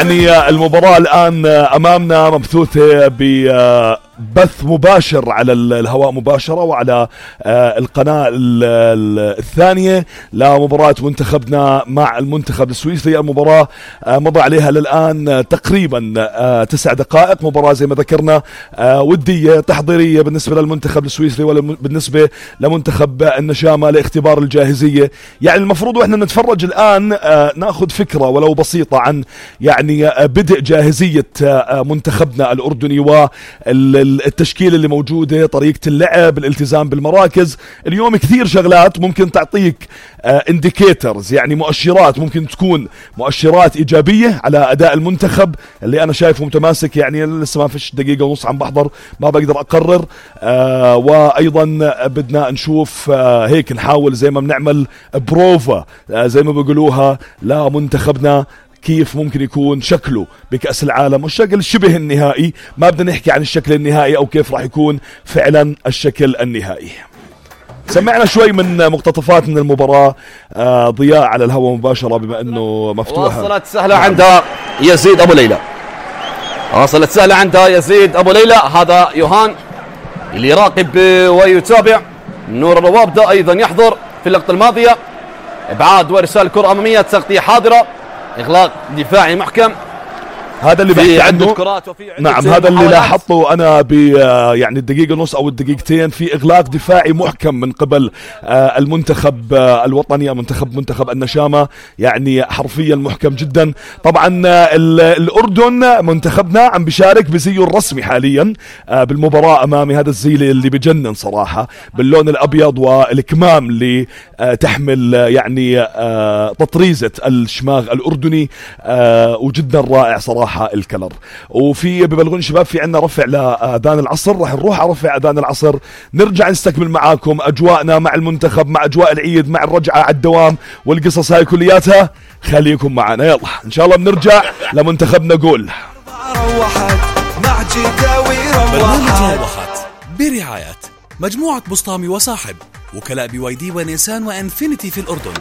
يعني المباراة الآن أمامنا مبثوثة ببث مباشر على الهواء مباشرة وعلى القناة الثانية لمباراة منتخبنا مع المنتخب السويسري. المباراة مضى عليها للآن تقريبا 9 دقائق. مباراة زي ما ذكرنا ودية تحضيرية بالنسبة للمنتخب السويسري وبالنسبة لمنتخب النشامة لاختبار الجاهزية. يعني المفروض وإحنا نتفرج الآن ناخذ فكرة ولو بسيطة عن يعني بدء جاهزية منتخبنا الأردني والتشكيل اللي موجودة، طريقة اللعب، الالتزام بالمراكز. اليوم كثير شغلات ممكن تعطيك انديكيترز، يعني مؤشرات ممكن تكون مؤشرات إيجابية على أداء المنتخب اللي أنا شايفه متماسك. يعني لسه ما فيش دقيقة ونص عم بحضر، ما بقدر أقرر. وأيضا بدنا نشوف هيك نحاول زي ما بنعمل بروفا زي ما بيقولوها لمنتخبنا كيف ممكن يكون شكله بكأس العالم، والشكل الشبه النهائي. ما بدنا نحكي عن الشكل النهائي أو كيف راح يكون فعلا الشكل النهائي. سمعنا شوي من مقتطفات من المباراة ضياء على الهواء مباشرة بما أنه مفتوحة. وصلت سهلة عندها يزيد أبو ليلى، وصلت سهلة عندها يزيد أبو ليلى. هذا يوهان اللي يراقب ويتابع. نور الروابدة أيضا يحضر في اللقطة الماضية. إبعاد وإرسال كرة أمامية، تغطية حاضرة، إغلاق دفاعي محكم. هذا اللي بحكي عنه. نعم هذا اللي لاحظته أنا يعني الدقيقة نص أو الدقيقتين في إغلاق دفاعي محكم من قبل المنتخب الوطني، منتخب النشامة، يعني حرفيا محكم جدا. طبعا الأردن منتخبنا عم بيشارك بزيه الرسمي حاليا بالمباراة أمامي. هذا الزي اللي بجنن صراحة، باللون الأبيض والكمام اللي تحمل يعني تطريزة الشماغ الأردني، وجدا رائع صراحة الكلر. وفي ببلغون شباب في عنا رفع لأذان العصر، راح نروح على رفع أذان العصر، نرجع نستكمل معاكم أجواءنا مع المنتخب، مع أجواء العيد، مع الرجعة على الدوام والقصص هاي كلياتها. خليكم معنا، يلا إن شاء الله بنرجع لمنتخبنا. قول برنامج روحت برعاية مجموعة بسطامي وصاحب، وكلاء BYD ونيسان وإنفينيتي في الأردن.